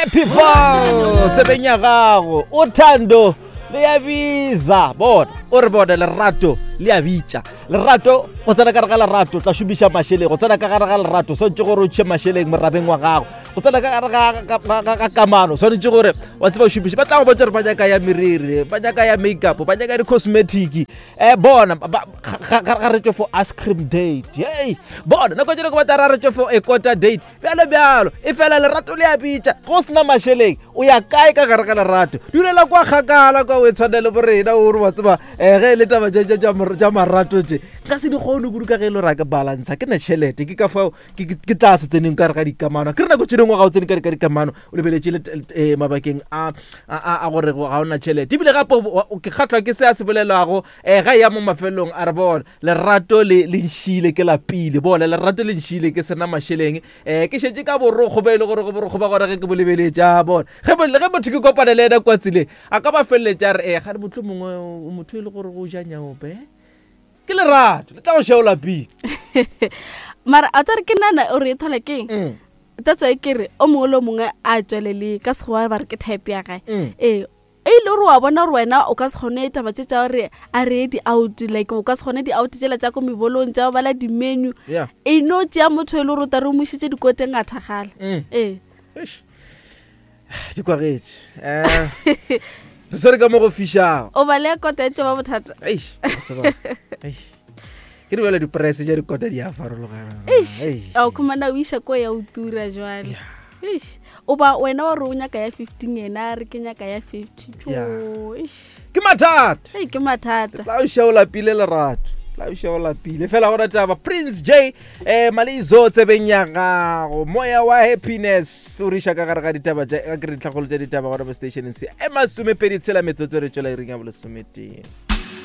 Happy Fall tsebeng ya gago o thando le ya biza bona o re bone lerato le ya bitša lerato go tsena ka gare ga lerato tla šomiša mašeleng go tsena ka gare ga lerato swanetše gore o tšhe mašeleng morabeng wa gago go tsena ka gare ga kamano swanetše gore wa tseba o šomiše ba tla go botsa gore ba nyaka ya meriri ba nyaka ya makeup ba nyaka di-cosmetic um bona ga re tšwe for ice cream date hey bona nako tše dingwe ba tla ra re tšwe for a quarter date bjalo bjalo e fela lerato le a bitša go sena mašeleng o ya kae ka gare ga lerato dulela kwa kgakala kwa o e tshwane le borena o re wa tseba um ge e le taba tša marato tše nka se di kgone kudu ka ge e le gore a ke balantsha ke na tšhelete ke ka fao ke tla se tseneng ka gare ga dikamano ke re nako tše dingwe ga o tsene ka ka dikamano o lebeletše le eh, mabakeng a a gore ga o na tšhelete ebile gape ke kgatlwa ke se a se bolelago um ga e ya mo mafelelong a re bona lerato le le nšile ke lapile bona lerato le nšile ke sena mašeleng um ke šetše ka borokgo ba e le gore go borokgo ba gona ge ke bo lebeletše a bona ge motho ke kopane le ena kwa tseleng a ka ba feleletša a re ee gane motho mongwe motho e le gore go ja nyaope ke lerato le tla go šea o lapile mara a tsare ke nana o re e thola keng mm. that's why ke re o mongwe le o mongwe a tswelele ka segoa ba re ke type ya gae mm. ee e ile gore wa bona gore wena o ka se kgone taba tše tša gore a reye di-out like o ka se kgone di-out tsela tša ko mebolong tša go bala di-menu e no tšea motho e le gore o tare o mo išitše dikoteng a thagala mm. ee di kwagetše um re swere ka mo go fišago o bale kota e tlo ba bothata ke di bjale diprese tša dikota di a farologana o khumana o iša ko ya o tura jwale o ba wena wa re o nyaka ya fifteen yena a re ke nyaka ya fifty ke mathata ke mathata tla o ša o lapile lerato tla o ša o lapile fela gona taba prince j um malizo tsebeng ya gago moya wa happiness o re iša ka gare ga ditaba tša ka ke re ditlhagolo tša ditaba gona mo stationeng se e masomepedi tshela metsotso re tšwela iring ya bolesometee.